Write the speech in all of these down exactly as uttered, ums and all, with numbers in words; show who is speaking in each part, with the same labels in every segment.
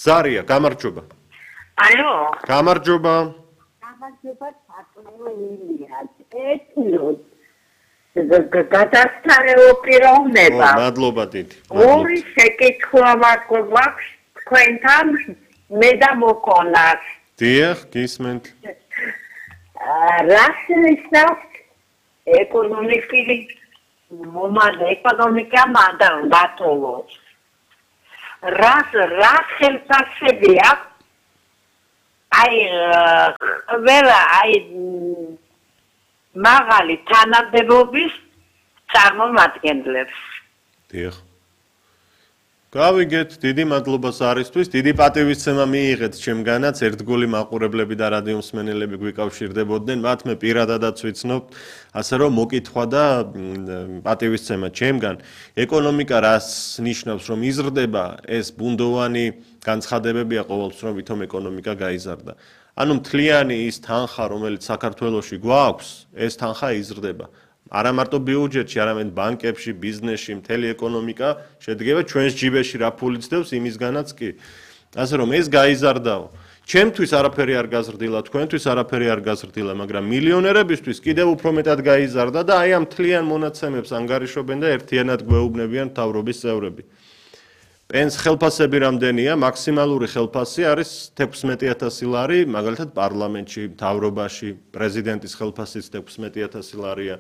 Speaker 1: ზარია, გამარჯობა.
Speaker 2: Алло.
Speaker 1: გამარჯობა.
Speaker 2: გამარჯობა საწმენია. ეთნოს გადასტარეო პიროვნება.
Speaker 1: მადლობა დიდი.
Speaker 2: ორი შეკითხვა მაქვს თქვენთან მე და მოკონას.
Speaker 1: დიახ, გისმენთ.
Speaker 2: რა შეიცავს ეკონომიკური მომავალ ეკონომიკა მანდატოლოს. რას რა ხელფასებია აი ვერა აი მაღალი თანამდებობის წარმომადგენლებს.
Speaker 1: დიახ. გავიგეთ, დიდი მადლობა ზარისთვის, დიდი პატივისცემა მიიღეთ ჩემგანაც, ერთგული მაყურებლები და რადიო მსმენელები გვიკავშირდებოდნენ, მათ მე პირადადაც ვიცნობ, ასე რომ მოკითხვა და პატივისცემა ჩემგან. ეკონომიკა რას ნიშნავს, რომ იზრდება, ეს ბუნდოვანი განცხადებებია ყოველთვის, რომ ვითომ ეკონომიკა გაიზარდა. ანუ მთლიანი ის თანხა, რომელიც საქართველოში გვაქვს, ეს თანხა იზრდება. არა მარტო ბიუჯეტში, არამედ ბანკებში, ბიზნესში, მთელი ეკონომიკა შედგება ჩვენს ჯიბეში რა ფულიც დევს იმისგანაც კი. ასე რომ ეს გაიზარდაო. ჩემთვის არაფერი არ გაზრდილა, თქვენთვის არაფერი არ გაზრდილა, მაგრამ მილიონერებისთვის კიდევ უფრო მეტად გაიზარდა და აი ამ მთლიან მონაცემებს ანგარიშობენ და ერთიანად გვეუბნებიან მთავრობის წევრები. პენს ხელფასები რამდენია? მაქსიმალური ხელფასი არის თექვსმეტი ათასი ლარი, მაგალითად პარლამენტში, მთავრობაში, პრეზიდენტის ხელფასიც თექვსმეტი ათასი ლარია.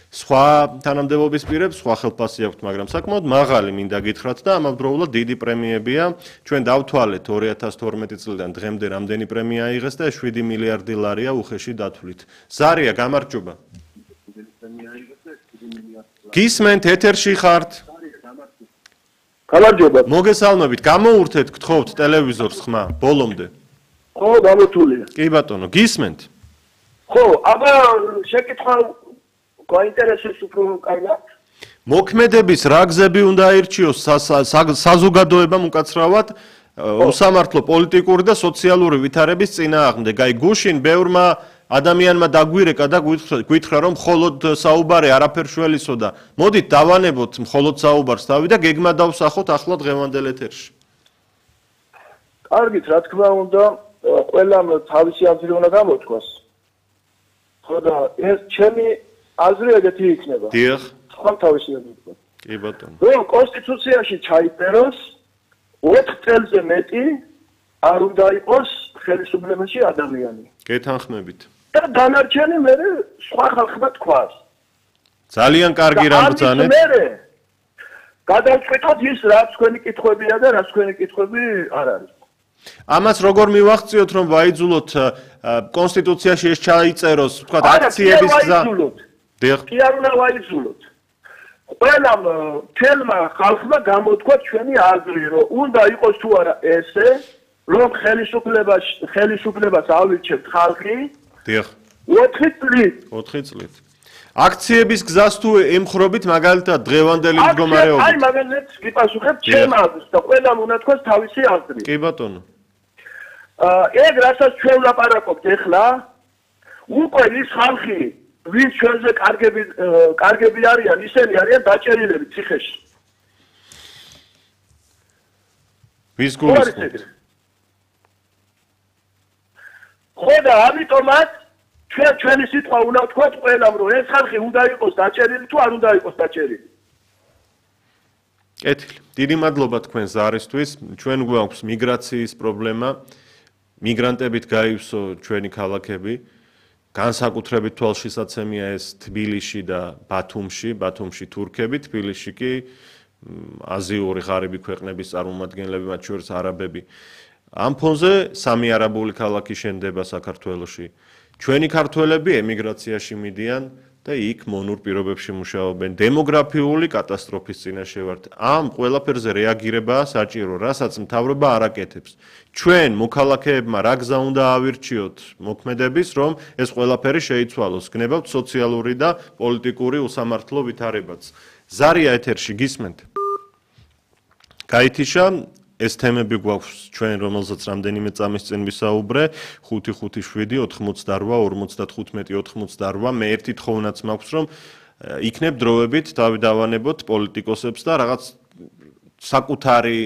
Speaker 1: სხვა თანამდებობის პირებს სხვა ხელფასი აქვთ, მაგრამ საკმაოდ მაღალი მინდა გითხრათ და ამავდროულად დიდი პრემიებია. ჩვენ დავთვალეთ ორი ათას თორმეტი წლიდან დღემდე რამდენი პრემია აიღეს და შვიდი მილიარდი ლარია უხეში დათვლით. ზარია, გამარჯობა. გისმენთ, ეთერში ხართ?
Speaker 3: გამარჯობა.
Speaker 1: მოგესალმებით, გამოურთეთ, გთხოვთ ტელევიზორს ხმა, ბოლომდე.
Speaker 3: ხო, გამოთვლია.
Speaker 1: კი ბატონო, გისმენთ.
Speaker 3: ხო, აბა შეკითხვა გაინტერესებს უფრო კარგად.
Speaker 1: მოქმედების რა გზები უნდა აირჩიოს საზოგადოებამ უკაცრავად უსამართლო პოლიტიკური და სოციალური ვითარების წინააღმდეგ. აი გუშინ ბევრმა ადამიანმა დაგვირეკა და გითხრა რომ მხოლოდ საუბარი არაფერ შველისო და მოდით დავანებოთ მხოლოდ საუბარს თავი და გეგმა დავსახოთ ახლა დღევანდელ ეთერში.
Speaker 3: კარგით, რა თქმა უნდა, ყველამ თავისი აზრი უნდა გამოთქვას. ხო და ეს ჩემი აზრი ეგეთი იქნება.
Speaker 1: დიახ.
Speaker 3: სხვა თავისი აზრი.
Speaker 1: კი ბატონო.
Speaker 3: რომ კონსტიტუციაში ჩაიწეროს ოთხ წელზე მეტი არ უნდა იყოს ხელისუფლებაში ადამიანი.
Speaker 1: გეთანხმებით.
Speaker 3: და დანარჩენი მე სხვა ხალხმა თქვას.
Speaker 1: ძალიან კარგი რამ ბრძანეთ.
Speaker 3: გადავწყვიტოთ ის რაც თქვენი კითხვებია და რაც თქვენი კითხვები არ არის.
Speaker 1: ამას როგორ მივახციოთ რომ ვაიძულოთ კონსტიტუციაში ეს ჩაიწეროს, თქვა აქციების გზა. დიახ.
Speaker 3: კი არ უნდა ვაიძულოთ. ყველამ თელმა ხალხმა გამოთქვა ჩვენი აზრი, რომ უნდა იყოს თუ არა ესე, რომ ხელისუფლებას ხელისუფლებას ავირჩევთ ხალხი.
Speaker 1: დიახ.
Speaker 3: ოთხი წლით.
Speaker 1: ოთხი წლით. აქციების გზას თუ ემხრობით მაგალითად დღევანდელი მდგომარეობით.
Speaker 3: აი მაგალითად გიპასუხებ ჩემ აზრს და ყველამ უნდა თქვას თავისი აზრი.
Speaker 1: კი ბატონო.
Speaker 3: აა ეგ რასაც ჩვენ ვლაპარაკობთ ახლა, უკვე ის ხალხი ვინც ჩვენზე კარგები კარგები არიან, ისინი არიან დაჭერილები ციხეში.
Speaker 1: ვის გულისხმობთ?
Speaker 3: ხო და ამიტომაც ჩვენ ჩვენი სიტყვა უნდა ვთქვათ ყველამ, რომ ეს ხალხი უნდა იყოს დაჭერილი თუ არ უნდა იყოს დაჭერილი.
Speaker 1: კეთილი. დიდი მადლობა თქვენ ზარისთვის. ჩვენ გვაქვს მიგრაციის პრობლემა. მიგრანტებით გაივსო ჩვენი ქალაქები. განსაკუთრებით თვალშისაცემია ეს თბილისში და ბათუმში, ბათუმში თურქები, თბილისში კი აზიური ღარიბი ქვეყნების წარმომადგენლები, მათ შორის არაბები. ამ ფონზე სამი არაბული ქალაქი შენდება საქართველოში. ჩვენი ქართველები ემიგრაციაში მიდიან და იქ მონურ პირობებში მუშაობენ. დემოგრაფიული კატასტროფის წინაშე ვართ. ამ ყველაფერზე რეაგირებაა საჭირო, რასაც მთავრობა არ აკეთებს. ჩვენ მოქალაქეებმა რა გზა უნდა ავირჩიოთ მოქმედების, რომ ეს ყველაფერი შეიცვალოს. გნებავთ სოციალური და პოლიტიკური უსამართლო ვითარებაც. ზარია ეთერში გისმენთ. გაითიშა ეს თემები გვაქვს ჩვენ, რომელზეც რამდენიმე წამის წინ ვისაუბრე, ხუთი ხუთი შვიდი ოთხმოცდარვა ორმოცდათხუთმეტი ოთხმოცდარვა. მე ერთი თხოვნაც მაქვს, რომ იქნებ დროებით თავი დავანებოთ პოლიტიკოსებს და რაღაც საკუთარი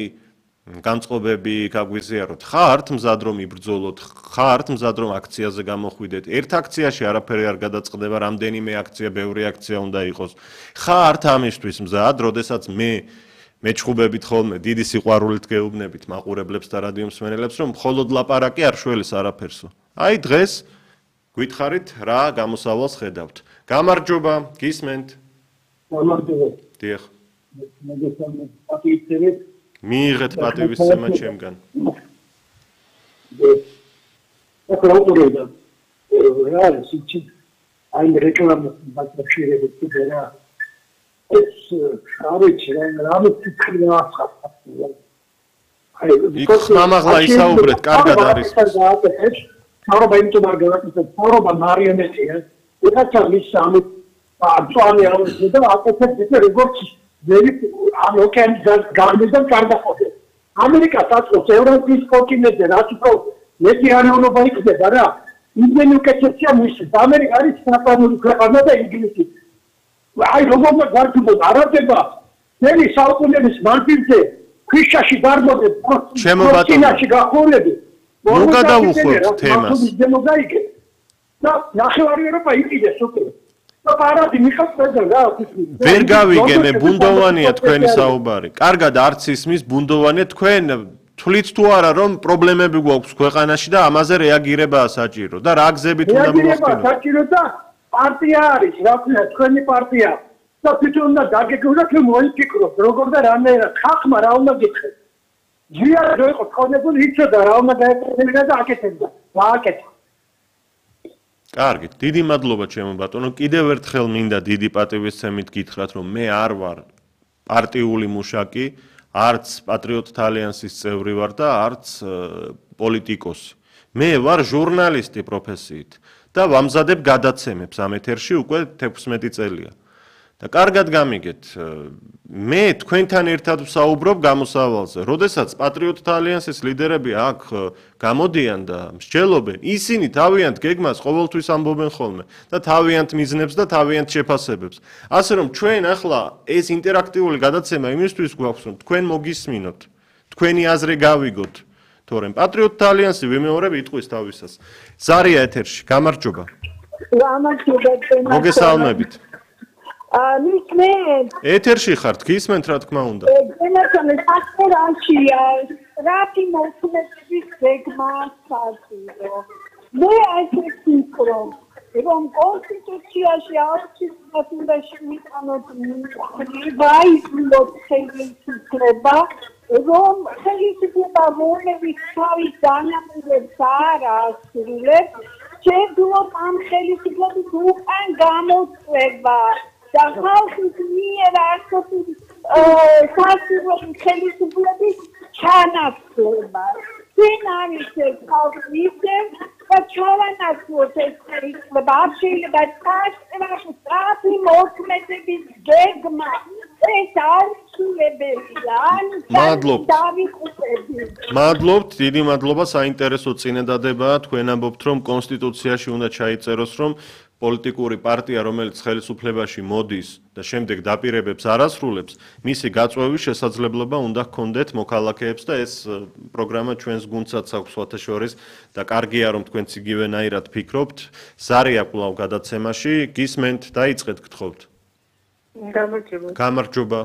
Speaker 1: განწყობები გაგვიზიაროთ. ხართ მზად რომ იბრძოლოთ, ხართ მზად რომ აქციაზე გამოხვიდეთ. ერთ აქციაში არაფერი არ გადაწყდება, რამდენიმე აქცია, ბევრი აქცია უნდა იყოს. ხართ ამისთვის მზად, როდესაც მე მეჩხუბებით ხოლმე დიდი სიყვარულით გეუბნებით მაყურებლებს და რადიო მსმენელებს, რომ მხოლოდ ლაპარაკი არ შველის არაფერსო. აი დღეს გითხარით რა გამოსავალს ხედავთ. გამარჯობა, გისმენთ.
Speaker 4: გამარჯობა.
Speaker 1: დიახ.
Speaker 4: მოგესალმებით. პატივისცემით.
Speaker 1: მიიღეთ პატივისცემა ჩემგან.
Speaker 4: ეხლა უყურებდა. რა ისიც აი რეკლამას ბაკშირებით კიდერა. ეს არის რამე ციფრი ახლა. აი
Speaker 1: იქ ხმამაღლა ისაუბრეთ, კარგად არის.
Speaker 4: საუბრობ იმიტომ არ გავაკეთებ, საუბრობ მარიონეტია. ეხლა ის სამი აწვანი არის და აკეთებს ისე როგორც ძელი ამ ოკეანის გარდიდან კარდახოთე. ამერიკას აწყობს ევრაზიის კონტინენტზე, რაც უფრო მეტი არეულობა იქნება რა. იმენი უკეთესია მისის. ამერიკა არის საფრანგული ქვეყანა და ინგლისი. აი როგორ გარდუბოს არადება ძელი საუკუნეების მანძილზე ქვიშაში დარბოდეს
Speaker 1: ჩემო ბატონო
Speaker 4: ჩინაში გახურები.
Speaker 1: ნუ გადავუხვევთ თემას.
Speaker 4: და ნახევარი ევროპა იყიდეს უკვე. და პარადი მიხასდა რა
Speaker 1: ვერ გავიგე მე ბუნდოვანია თქვენი საუბარი. კარგად არც ისმის ბუნდოვანია თქვენ თვლით თუ არა რომ პრობლემები გვაქვს ქვეყანაში და ამაზე რეაგირებაა საჭირო და რა გზებით უნდა მოვხდინოთ?
Speaker 4: რეაგირება საჭირო და პარტია არის, რა ქვია, თქვენი პარტია. და თვითონ უნდა დაგეგმოთ რომ მოიფიქროთ, როგორ და რანაირად ხალხმა რა უნდა გითხრათ. ჯერ რო იყო ხონებული იცოდა რა უნდა გაეკეთებინა და აკეთებდა. გააკეთა.
Speaker 1: კარგი, დიდი მადლობა ჩემო ბატონო. კიდევ ერთხელ მინდა დიდი პატივისცემით გითხრათ, რომ მე არ ვარ პარტიული მუშაკი, არც პატრიოტთა ალიანსის წევრი ვარ და არც პოლიტიკოსი. მე ვარ ჟურნალისტი პროფესიით და ვამზადებ გადაცემებს ამ ეთერში უკვე თექვსმეტი წელია. და კარგად გამიგეთ, მე თქვენთან ერთად ვსაუბრობ გამოსავალზე. როდესაც პატრიოტთა ალიანსის ლიდერები აქ გამოდიან და მსჯელობენ, ისინი თავიანთ გეგმას ყოველთვის ამბობენ ხოლმე და თავიანთ მიზნებს და თავიანთ შეფასებებს. ასე რომ ჩვენ ახლა ეს ინტერაქტიული გადაცემა იმისთვის გვაქვს, რომ თქვენ მოგისმინოთ, თქვენი აზრი გავიგოთ, თორემ პატრიოტთა ალიანსი ვიმეორებ იტყვის თავისას. ზარია ეთერში, გამარჯობა.
Speaker 5: გამარჯობა.
Speaker 1: მოგესალმებით.
Speaker 5: მისმენთ.
Speaker 1: ეთერში ხართ, გისმენთ რა თქმა უნდა.
Speaker 5: გენაცვალე საფრანგეთია, რაფი მოქმედების გეგმა საჭირო. მე ასე ვფიქრობ, რომ კონსტიტუციაში აუცილებლად უნდა შევიტანოთ ვაიზმოთ ხელისუფლება, რომ ხელისუფლება რომლებიც თავის განაპირობებს არ ასრულებს, შეძლოთ ამ ხელისუფლების უკან გამოწვევა. და ხალხის მიერ არსებული სასურველი ხელისუფლების ჩანაცვლება. წინ არის ეს ხალხი ისევ და ჩავანაცვლოთ ეს ხელისუფლება. არ შეიძლება წარსულში სწრაფი მოქმედების გეგმა. ეს აუცილებელია.
Speaker 1: მადლობთ. მადლობთ, დიდი მადლობა, საინტერესო წინადადებაა. თქვენ ამბობთ, რომ კონსტიტუციაში უნდა ჩაიწეროს, რომ პოლიტიკური პარტია, რომელიც ხელისუფლებაში მოდის და შემდეგ დაპირებებს არ ასრულებს, მისი გაწვევის შესაძლებლობა უნდა ჰქონდეთ მოქალაქეებს და ეს პროგრამა ჩვენს გუნდსაც აქვს სხვათა შორის და კარგია რომ თქვენც იგივენაირად ფიქრობთ. ზარია კვლავ გადაცემაში, გისმენთ, დაიწყეთ გთხოვთ.
Speaker 2: გამარჯობა.
Speaker 1: გამარჯობა.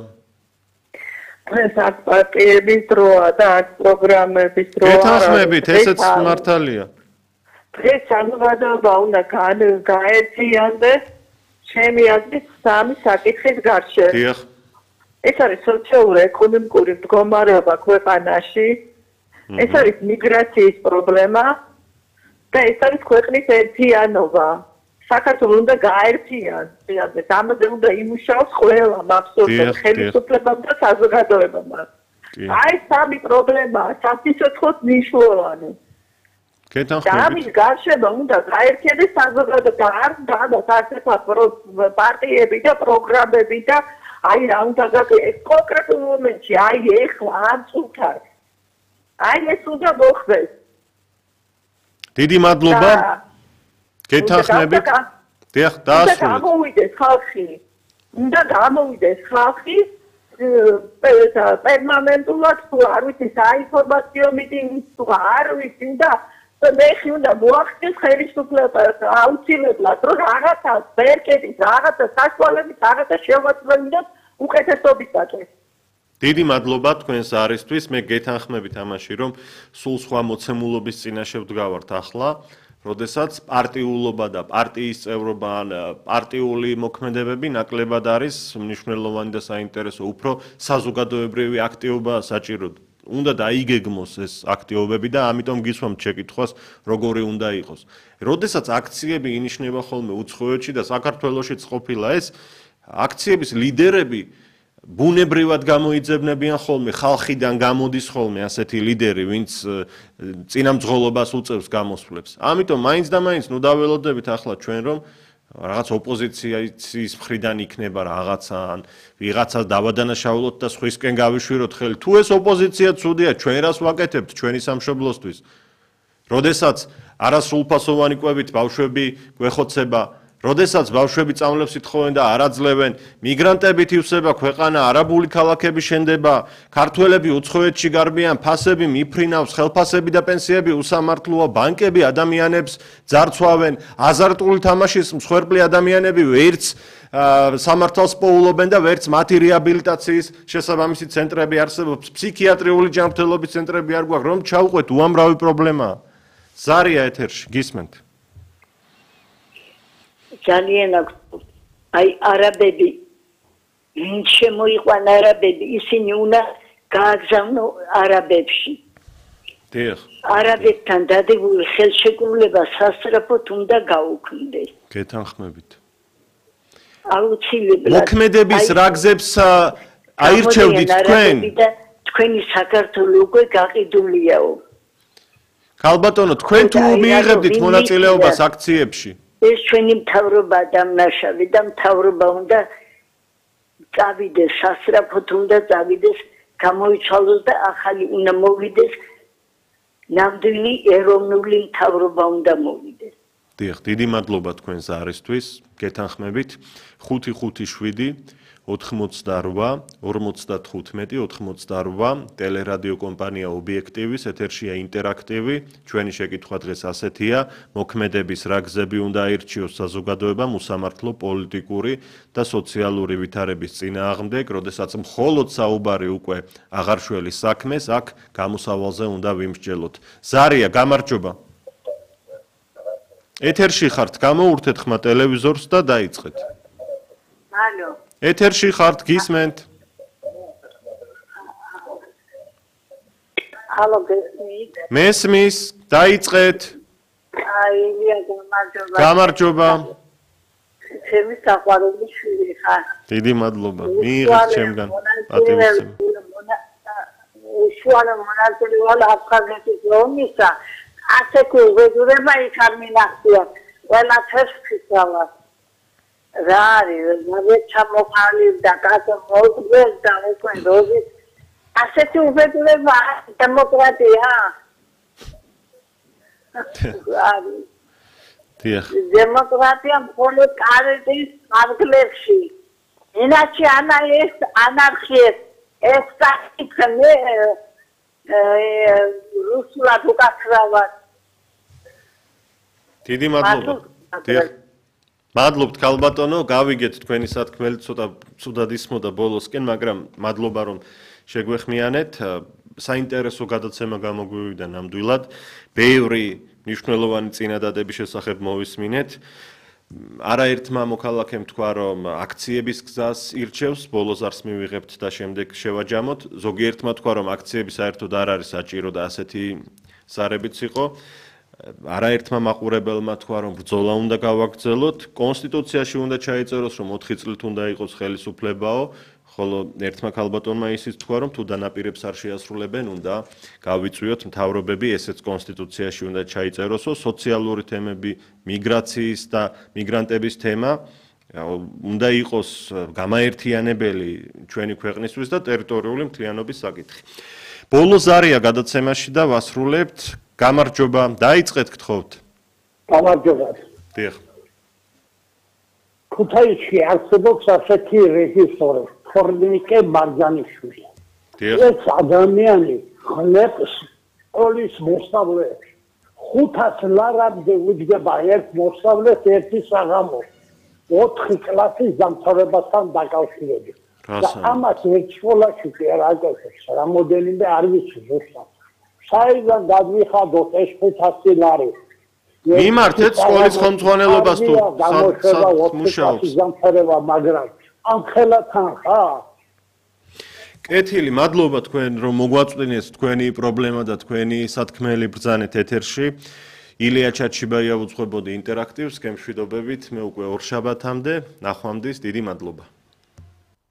Speaker 2: ეს აქ პარტიების დროა და აქ პროგრამების დროა.
Speaker 1: გეთანხმებით, ესეც მართალია.
Speaker 2: ეს საზოგადოება უნდა გაერთიანდეს ჩემი აზრით სამი საკითხის გარშემო.
Speaker 1: დიახ.
Speaker 2: ეს არის სოციალურ-ეკონომიკური მდგომარეობა ქვეყანაში, ეს არის მიგრაციის პრობლემა და ეს არის ქვეყნის ერთიანობა. საქართველოს უნდა გაერთიანდეს, ამაზე უნდა იმუშაოს ყველა მაბსოლუტურად ხელისუფლებამ და საზოგადოებამ. აი სამი პრობლემაა სასიცოცხლოდ მნიშვნელოვანი. და ამის გარშემო უნდა გაერთიანდეს საზოგადოება, არ დადოს ასეთი პარტიები და პროგრამები და აი რა უნდა გაკეთდეს კონკრეტულ მომენტში, აი ეხლა ამ წუთას. აი ეს უნდა მოხდეს.
Speaker 1: დიდი მადლობა. გეთანხმებით. დიახ, დაასრულეთ.
Speaker 2: უნდა გამოვიდეს ხალხი. უნდა გამოვიდეს ხალხი პერმანენტულად თუ არ ვიცი საინფორმაციო მიტინგის თუ არ ვიცი და მე ხიუნდა მოახდინოს ხელისუფლებას აუცილებლად რომ რაღაცა ვერკეტის რაღაცა საშუალებით რაღაცა შევაწმენდეთ უკეთესობისაკენ.
Speaker 1: დიდი მადლობა თქვენს არისთვის. მე გეთანხმებით ამაში რომ სულ სხვა მოცემულობის წინაშე ვდგავართ ახლა. როდესაც პარტიულობა და პარტიის წევრობა ან პარტიული მოქმედებები ნაკლებად არის მნიშვნელოვანი და საინტერესო, უფრო საზოგადოებრივი აქტივობაა საჭირო. უნდა დაიგეგმოს ეს აქტივობები და ამიტომ გისვამთ შეკითხვას, როგორი უნდა იყოს. როდესაც აქციები ინიშნება ხოლმე უცხოეთში და საქართველოშიც ყოფილა ეს, აქციების ლიდერები ბუნებრივად გამოიძებნებიან ხოლმე, ხალხიდან გამოდის ხოლმე ასეთი ლიდერი, ვინც წინამძღოლობას უწევს გამოსვლებს. ამიტომ მაინც და მაინც ნუ დაველოდებით ახლა ჩვენ რომ რაღაც ოპოზიციის მხრიდან იქნება რაღაცა ან ვიღაცას დავადანაშაულოთ და სხვისკენ გავიშვიროთ ხელი. თუ ეს ოპოზიცია ცუდია, ჩვენ რას ვაკეთებთ ჩვენი სამშობლოსთვის? როდესაც არასრულფასოვანი კვებით ბავშვები გვეხოცება, როდესაც ბავშვები წამლებს ითხოვენ და არ აძლევენ, მიგრანტებით ივსება ქვეყანა, არაბული ქალაქები შენდება, ქართველები უცხოეთში გარბიან, ფასები მიფრინავს, ხელფასები და პენსიები უსამართლოა, ბანკები ადამიანებს ძარცვავენ, აზარტული თამაშის მსხვერპლი ადამიანები ვერც სამართალს პოულობენ და ვერც მათი რეაბილიტაციის შესაბამისი ცენტრები არსებობს, ფსიქიატრიული ჯანმრთელობის ცენტრები არ გვაქვს, რომ ჩავყვეთ უამრავი პრობლემაა. ზარია ეთერში, გისმენთ.
Speaker 6: ძალიან აქვს აი არაბები ვინ შემოიყვან არაბები ისინი უნდა გააგზავნო არაბებში
Speaker 1: დიახ
Speaker 6: არაბეთთან დადებულ ხელშეკრულება სასწრაფოდ უნდა გაუქმდეს
Speaker 1: გეთანხმებით
Speaker 6: აუცილებლად
Speaker 1: მოქმედების რაგზებს აირჩევდით თქვენ
Speaker 6: თქვენი საქართველო უკვე გაყიდულიაო
Speaker 1: ქალბატონო თქვენ თუ მიიღებდით მონაწილეობას აქციებში
Speaker 6: ეს ჩვენი მთავრობა დამნაშავე და მთავრობა უნდა წავიდეს სასწრაფოდ უნდა წავიდეს გამოიცვალოს და ახალი უნდა მოვიდეს ნამდვილი ეროვნული მთავრობა უნდა მოვიდეს
Speaker 1: დიახ დიდი მადლობა თქვენს არისთვის გეთანხმებით ხუთი ხუთი შვიდი ოთხმოცდარვა ორმოცდათხუთმეტი ოთხმოცდარვა ტელერადიო კომპანია ობიექტივის ეთერშია ინტერაქტივი ჩვენი შეკითხვა დღეს ასეთია მოქმედების რაგზები უნდა აირჩიოს საზოგადოებამ უსამართლო პოლიტიკური და სოციალური ვითარების წინააღმდეგ როდესაც მხოლოდ საუბარი უკვე აღარშველის საქმეს აქ გამოსავალზე უნდა ვიმსჯელოთ ზარია გამარჯობა ეთერში ხართ გამოურთეთ ხმა ტელევიზორს და დაიწყეთ
Speaker 6: ალო
Speaker 1: ეთერში ხართ გისმენთ
Speaker 6: ალო გესმით
Speaker 1: მესმის დაიწყეთ
Speaker 6: აი ილია გამარჯობა
Speaker 1: გამარჯობა
Speaker 6: ჩემი საყვარელი შვილი ხარ
Speaker 1: დიდი მადლობა მიიღეთ ჩემგან პატივისცემა
Speaker 6: შუალა მონაწილე ვარ აფხაზეთის ომისა ასეთი უღებურება იქ არ მინახია ყველაფერს ფიქრავ რა არის მე ჩამოყალიბ და კაცო მოგდეს და უკვე როზი ასეთი უღებურება დემოკრატია არის
Speaker 1: დიახ
Speaker 6: დემოკრატია მხოლოდ კარეთის არგლებში ინახი ანა ეს ანარქია ეს საკითხი რუსულად უკაცრავად
Speaker 1: დიდი მადლობა დიახ მადლობთ ქალბატონო გავიგეთ თქვენი სათქმელი ცოტა ცუდად ისმოდა ბოლოსკენ მაგრამ მადლობა რომ შეგვეხმიანეთ საინტერესო გადაცემა გამოგვივიდა ნამდვილად ბევრი მნიშვნელოვანი წინადადების შესახებ მოვისმინეთ არაერთმა მოქალაქემ თქვა რომ აქციების გზას ირჩევს ბოლოს არს მივიღებთ და შემდეგ შევაჯამოთ ზოგიერთმა თქვა რომ აქციები საერთოდ არ არის საჭირო და ასეთი სარებიც იყო არაერთმა მაყურებელმა თქვა რომ ბრძოლა უნდა გავაგრძელოთ კონსტიტუციაში უნდა ჩაიწეროს რომ ოთხი წლით უნდა იყოს ხელისუფლებაო ხოლო ერთმა ქალბატონმა ისიც თქვა რომ თუ დანაპირებს არ შეასრულებენ უნდა გავიწვიოთ მთავრობები ესეც კონსტიტუციაში უნდა ჩაიწეროსო სოციალური თემები მიგრაციის და მიგრანტების თემა უნდა იყოს გამაერთიანებელი ჩვენი ქვეყნისთვის და ტერიტორიული მთლიანობის საკითხი ბოლო ზარია გადაცემაში და ვასრულებთ გამარჯობა დაიწყეთ გთხოვთ
Speaker 4: გამარჯობა
Speaker 1: დიახ
Speaker 4: ქუთაისში არსებობს ასეთი რეჟისორი თორნიკე ბარგანიშვილი.
Speaker 1: დიახ.
Speaker 4: ეს ადამიანი ხლებს სკოლის მოსწავლეებს. ხუთას ლარამდე უჯდება ერთ მოსწავლეს ერთი საღამო. ოთხი კლასის დამთავრებასთან დაკავშირებით. და ამას ერთ სკოლაში კი არ აკეთებს. რამოდენიმე არ ვიცი ზუსტად. საიდან გადვიხადოთ ეს ხუთასი ლარი?
Speaker 1: მიმართეთ სკოლის ხელმძღვანელობას თუ მუშაობს.
Speaker 4: დამთავრება, მაგრამ ამ ხელათან ხარ?
Speaker 1: კეთილი, მადლობა თქვენ რომ მოგვაწვდინეთ თქვენი პრობლემა და თქვენი სათქმელი ბრძანეთ ეთერში. ილია ჩაჩიბაია უძღვებოდი ინტერაქტივს, გემშვიდობებით, მე უკვე ორ შაბათამდე, ნახვამდის, დიდი მადლობა.